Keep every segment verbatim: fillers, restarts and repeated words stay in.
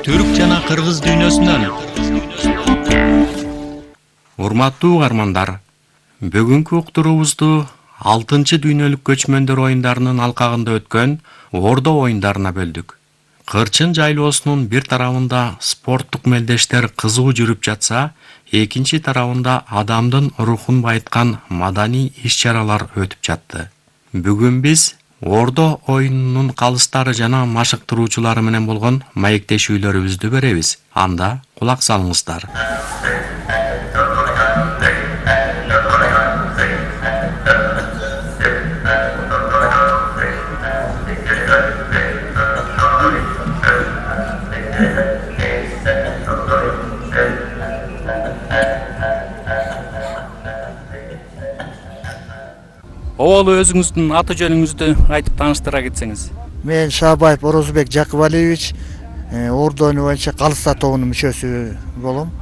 Түрк жана кыргыз дүйнөсүнөн. Урматтуу угармандар, бүгүнкү уктуруубузду алтынчы дүйнөлүк көчмөндөр оюндарынын алкагында өткөн Ордо оюндарына бөлдүк. Кырчын жайлоосунун бир тарабында спорттук мелдештер кызуу жүрүп жатса, экинчи тарабында адамдын рухун байыткан маданий иш-чаралар өтүп жатты. Бүгүн биз Ордо оюнунун калыстары жана машыктыруучулары менен болгон маектешүүлөрүбүздү беребиз. Анда кулак салыңыздар. Оболу өзүңүздүн аты жөнүңүздү айтып тааныштыра кетсеңиз. Мен Шабаев Орозбек Жакыбалиевич, Ордо оюну боюнча Калыста тобунун мүчөсү болом.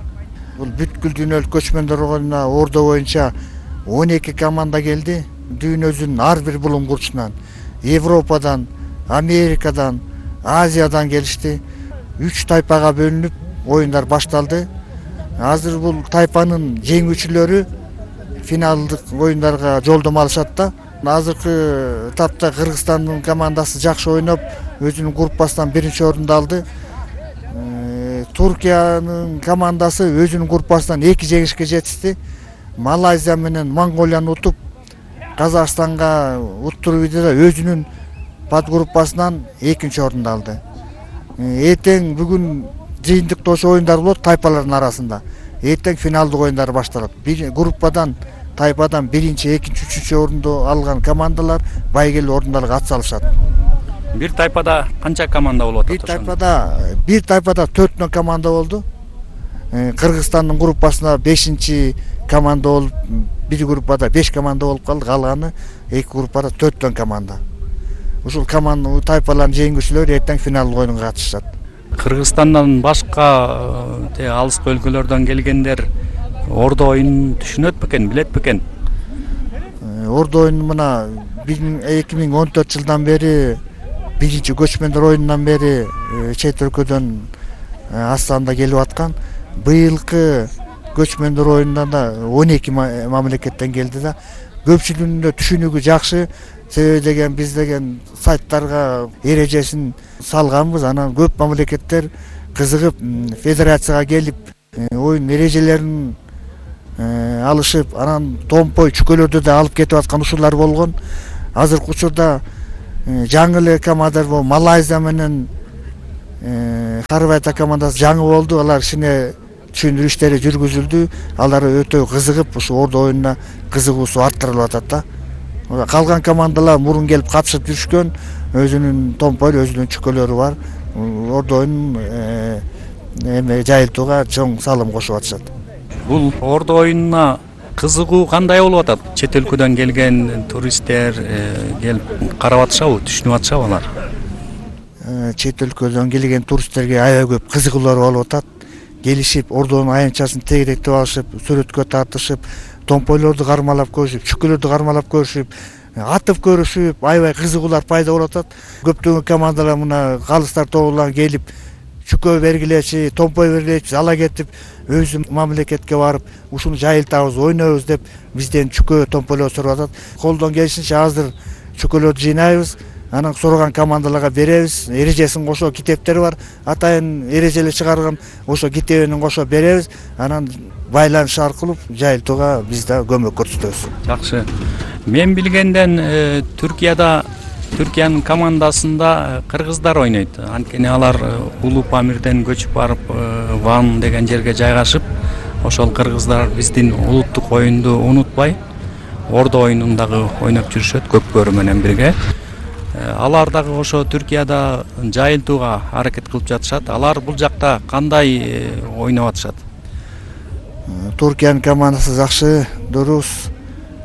Бул бүткүл дүйнөлүк көчмөндөр оюнуна Ордо боюнча он эки команда келди. Дүйнөдүн ар бир булуңгурчунан, Европадан, Америкадан, Азиядан келишти. Үч тайпага бөлүнүп оюндар башталды. Азыр бул тайпанын жеңүүчүлөрү финалдык оюндарга жолдомо алышат да. Азыркы этапта Кыргызстандын командасы жакшы ойноп, өзүнүн группасынан биринчи орунду алды. Туркиянын командасы өзүнүн группасынан эки жеңишке жетишти. Малайзия менен Монголияны утуп, Казакстанга уттуруп ийди да өзүнүн подгруппасынан экинчи орунду алды. Эртең бүгүн жыйынтыктоочу оюндар болот тайпалардын арасында. Эртең финалдык оюндар башталат. Бир группадан, тайпадан биринчи, экинчи, үчүнчү орунду алган командалар байгелүү орундарга ат салышат. Бир тайпада канча команда болуп атат? Бир тайпада, бир тайпада төртөн команда болду. Кыргызстандын группасына бешинчи команда болуп, бир группада беш команда болуп калды, калганы эки группада төртөн команда. Ушул команда тайпалардын жеңүүчүлөрү эртең финалдык оюнга катышат. Кыргызстандан башка алыскы өлкөлөрдөн келгендер Ордо оюнун түшүнөт бекен, билет бекен? Ордо оюну мына эки миң он төрт жылдан бери, биринчи көчмөндөр оюнунан бери чет өлкөдөн Астанада келип аткан. Быйылкы көчмөндөр оюнунда он эки мамлекеттен келди да. Көпчүлүгүнүн түшүнүгү жакшы. Себеби деген биз деген сайттарга эрежесин салганбыз. Анан көп мамлекеттер кызыгып федерацияга келип оюн эрежелерин алышып, анан томпой чүкөлөрдү да алып кетип аткан ушулар болгон. Азыркы учурда жаңы эле командар бул Малайзия менен Хорватия командасы жаңы болду. Алар кичине түшүндүрүү иштери жүргүзүлдү. Алар өтө кызыгып, ушу Ордо оюнуна кызыгуусу арттырылып атат да. Калган командалар мурун келип катышып жүрүшкөн, өзүнүн томпой, өзүнүн чүкөлөрү бар. Ордо оюнун эме жайылтууга чоң салым кошуп атышат. Бул Ордо оюнуна кызыгуу кандай болуп атат? Чет өлкөдөн келген туристтер келип карап атышабы, түшүнүп атышабы алар? Чет өлкөдөн келген туристтерге аябай көп кызыгуулар болуп атат. Келишип, Ордонун аянтчасын тегеректеп алышып, сүрөткө тартышып, томпойлорду кармалап көрүшүп, чүкөлөрдү кармалап көрүшүп, атып көрүшүп, аябай кызыгуулар пайда болуп атат. Көптөгөн командалар мына калыстар тобулан келип, чүкө бергилечи, томпой бергилечи, ала кетип, өзү мамлекетке барып, ушуну жайылтабыз, ойнойбуз деп бизден чүкө, томпойлор сурап атат. Колдон келишинче азыр чүкөлөрдү жыйнайбыз, анан сураган командаларга беребиз. Эрежесин кошо китептер бар, атайын эрежелер чыгарган, ошо китебин кошо беребиз. Анан байланыш аркылуу жайылтууга биз да көмөк көрсөтөбүз. Жакшы. Мен билгенден Түркияда Түркиянын командасында кыргыздар ойнойт. Анткени алар Улуу Памирден көчүп барып, Ван деген жерге жайгашып, ошол кыргыздар биздин улуттук оюнду унутпай, Ордо оюнундагы ойноп жүрүшөт көпкөрү менен бирге. Алар дагы ошо Түркияда жайылтууга аракет кылып жатышат. Алар бул жакта кандай ойноп атышат? Туркиянын командасы жакшы, дурус.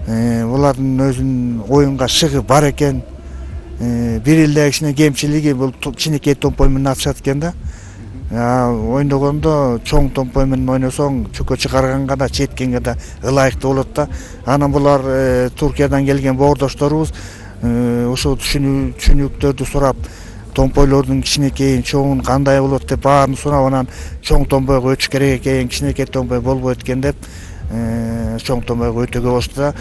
Булардын өзүнүн оюнга шыгы бар экен. Бир эле кичине кемчилиги бул кичинекей томпой менен атышат экен да. Ойногондо чоң томпой менен ойносоң, чүкө чыгарганга да, четкенге да ылайыктуу болот да. Анан булар Туркиядан келген боордошторубуз ошол түшүнүктөрдү сурап, томпойлордун кичинекейин чоңун кандай болот деп баарын сурап, анан чоң томпойго өтүш керек экен, кичинекей томпой болбойт экен деп чоң томпойго өтүүгө болушту да.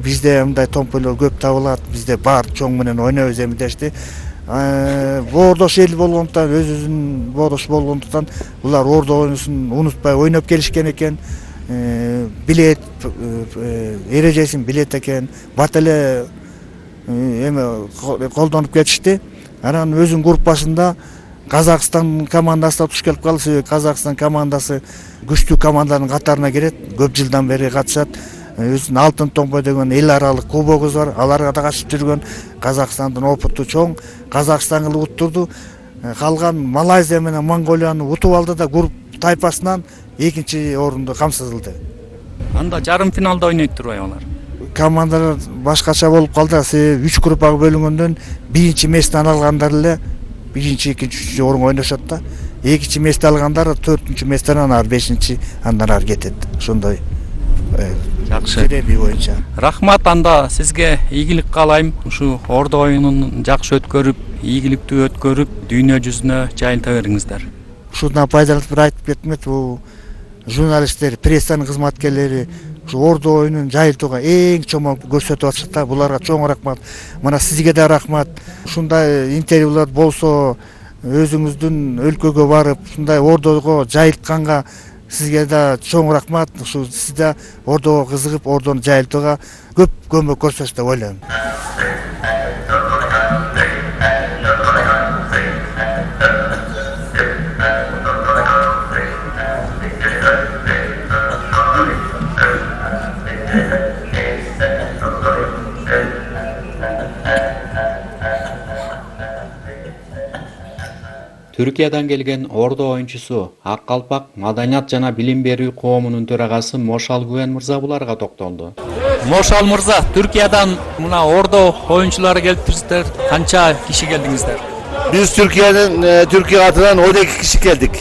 Бизде мындай томпойлор көп табылат, бизде бар чоң менен ойнойбуз эми дешти. Боордош эл болгондуктан, өзүбүздүн боордош болгондуктан булар ордо оюнун унутпай ойноп келишкен экен. Билет эрежесин билет экен, бат эле эме колдонуп кетишти. Анан өзүнүн группасында Казакстан командасы да туш келип калды. Себеби Казакстан командасы күчтүү командалардын катарына кирет, көп жылдан бери катышат. Өзүнүн алтын томпой деген эл аралык кубогубуз бар, аларга да катышып жүргөн. Казакстандын опыту чоң, Казакстан кылып уттурду. Калган Малайзия менен Монголияны утуп алды да групп тайпасынан экинчи орунду камсыздылды. Анда жарым финалда ойнойт турбайбы алар? Командалар башкача болуп калды. Себеби үч группага бөлүнгөндөн биринчи месттен алгандар эле биринчи, экинчи, үчүнчү орунга ойношот да. Экинчи местти алгандар төртүнчү месттен анан бешинчи, андан ары кетет. Ошондой жакшы жереби боюнча. Рахмат, анда сизге ийгилик каалайм. Ушу ордо оюнун жакшы өткөрүп, ийгиликтүү өткөрүп, дүйнө жүзүнө жайылта бериңиздер. Ушундан пайдаланып бир айтып кетмек, бул журналисттер, прессанын кызматкерлери ушу ордо оюнун жайылтууга эң чоң көрсөтүп атышат да. Буларга чоң рахмат. Мына сизге да рахмат. Ушундай интервьюлар болсо, өзүңүздүн өлкөгө барып, ушундай ордого жайылтканга сизге да чоң рахмат. Ушу сиз да ордого кызыгып, ордону жайылтууга көп көмөк көрсөтөсүз деп ойлойм. Түркиядан келген ордо оюнчусу Ак Калпак Маданият жана билим берүү коомунун төрагасы Мошал Гүвен мырза буларга токтолду. Мошал мырза, Түркиядан мына ордо оюнчулары келиптирсиздер. Канча киши келдиңиздер? Биз Түркиянын Түркия атынан он эки киши келдик.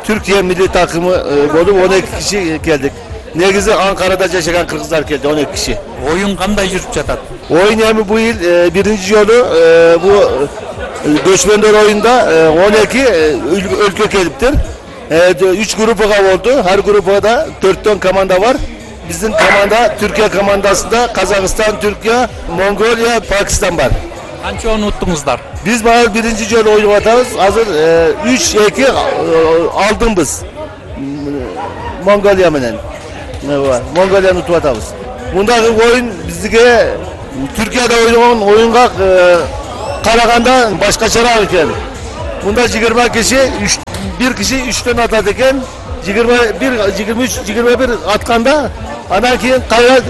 Түркия милли такымы болуп он эки киши келдик. Негизи Анкарада жашаган кыргыздар келди, он эки киши. Оюн кандай жүрүп жатат? Оюн эми бул эл биринчи жолу бул көчмөндөр оюнда он эки өлкө келиптир. үч группага болду. Ар группада төрттөн команда бар. Биздин команда Түркия командасында Казакстан, Түркия, Монголия, Пакистан бар. Канча уттуңуздар? Биз баары биринчи жолу ойноп атабыз. Азыр үч эки алдыңбыз. Монголия менен. Монголияны утуп атабыз. Мундагы оюн бизге Түркияда ойногон оюнга караганда башкачараак экен. Мында жыйырма киши, бир киши үчтөн атат экен. жыйырма бир, жыйырма үч, жыйырма бир атканда анан кийин кайра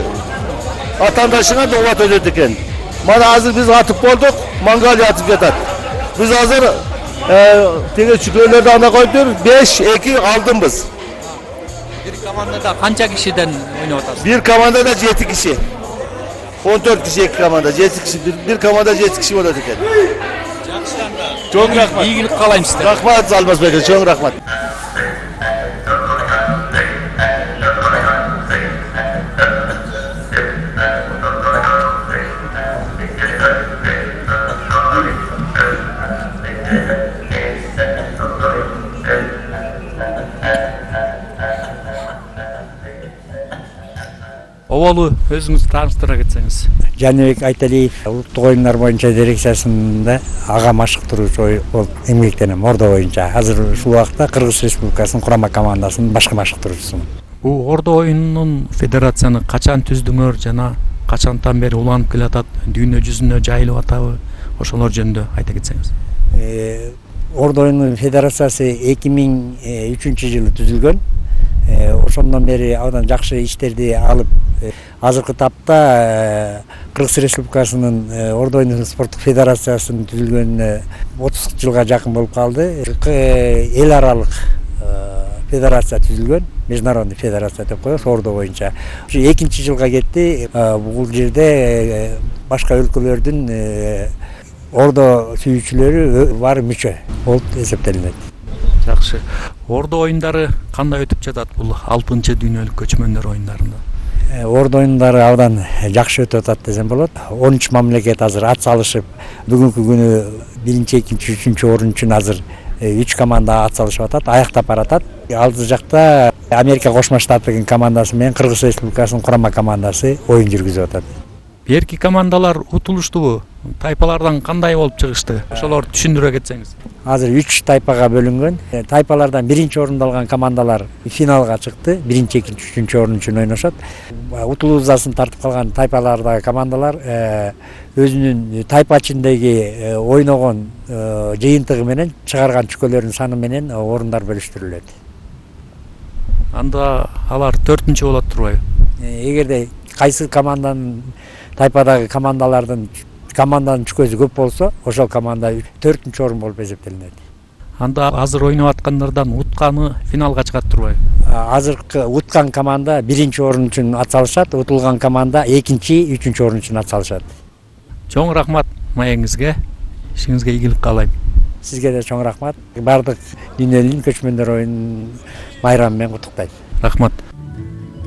атандашыңа долбат өтөт экен. Мана азыр биз атып болдук, Монголия атып жатат. Биз азыр теге чүкөлөрдү анда коюптур, беш эки алдыңбыз. Бир командада канча кишиден ойноп атасыз? Бир командада жети киши. он төрт киши эки команда, жети киши, бир команда жети киши болот экен. Жакшы анда. Чоң рахмат. Ийгилик каалайм сизге. Рахмат Алмазбек, чоң рахмат. Оболу өзүңүз тааныштыра кетсеңиз. Жаныбек Айталиев улуттук оюндар боюнча дирекциясында ага машыктыруучу болуп эмгектенем ордо боюнча. Азыр ушул убакта Кыргыз Республикасынын курама командасынын башкы машыктыруучусумун. Бул ордо оюнунун федерацияны качан түздүңөр жана качантан бери уланып келатат, дүйнө жүзүнө жайылып атабы? Ошолор жөнүндө айта кетсеңиз. Ордо оюнунун федерациясы эки миң үчүнчү жылы түзүлгөн. Ошондон бери абдан жакшы иштерди алып, азыркы тапта Кыргыз Республикасынын ордо оюну спорттук федерациясынын түзүлгөнүнө отуз жылга жакын болуп калды. Эл аралык федерация түзүлгөн, международный федерация деп коебуз ордо боюнча. экинчи жылга кетти. Бул жерде башка өлкөлөрдүн ордо сүйүүчүлөрү бар мүчө болуп эсептелинет. Жакшы. Ордо оюндары кандай өтүп жатат бул алтынчы дүйнөлүк көчмөндөр оюндарында? Ордо оюндары абдан жакшы өтүп атат десем болот. он үч мамлекет азыр ат салышып, бүгүнкү күнү биринчи, экинчи, үчүнчү орун үчүн азыр үч команда ат салышып атат, аяктап баратат. Алды жакта Америка Кошмо Штаттын командасы менен Кыргыз Республикасынын курама командасы оюн жүргүзүп атат. Берки командалар утулуштубу? Тайпалардан кандай болуп чыгышты? Ошолорду түшүндүрө кетсеңиз. Азыр үч тайпага бөлүнгөн. Тайпалардан биринчи орунду алган командалар финалга чыкты. Биринчи, экинчи, үчүнчү орун үчүн ойношот. Утулуузасын тартып калган тайпалардагы командалар өзүнүн тайпа ичиндеги ойногон жыйынтыгы менен чыгарган чүкөлөрүнүн саны менен орундар бөлүштүрүлөт. Анда алар төртүнчү болот турбайбы? Эгерде кайсы команданын тайпадагы командалардын команданын чүкөсү көп болсо, ошол команда төртүнчү орун болуп эсептелинет. Анда азыр ойноп аткандардан утканы финалга чыгат турбайбы? Азыркы уткан команда биринчи орун үчүн ат салышат, утулган команда экинчи, үчүнчү орун үчүн ат салышат. Чоң рахмат маегиңизге. Ишиңизге ийгилик каалайм. Сизге да чоң рахмат. Бардык дүйнөлүк көчмөндөр оюнун майрамы менен куттуктайм. Рахмат.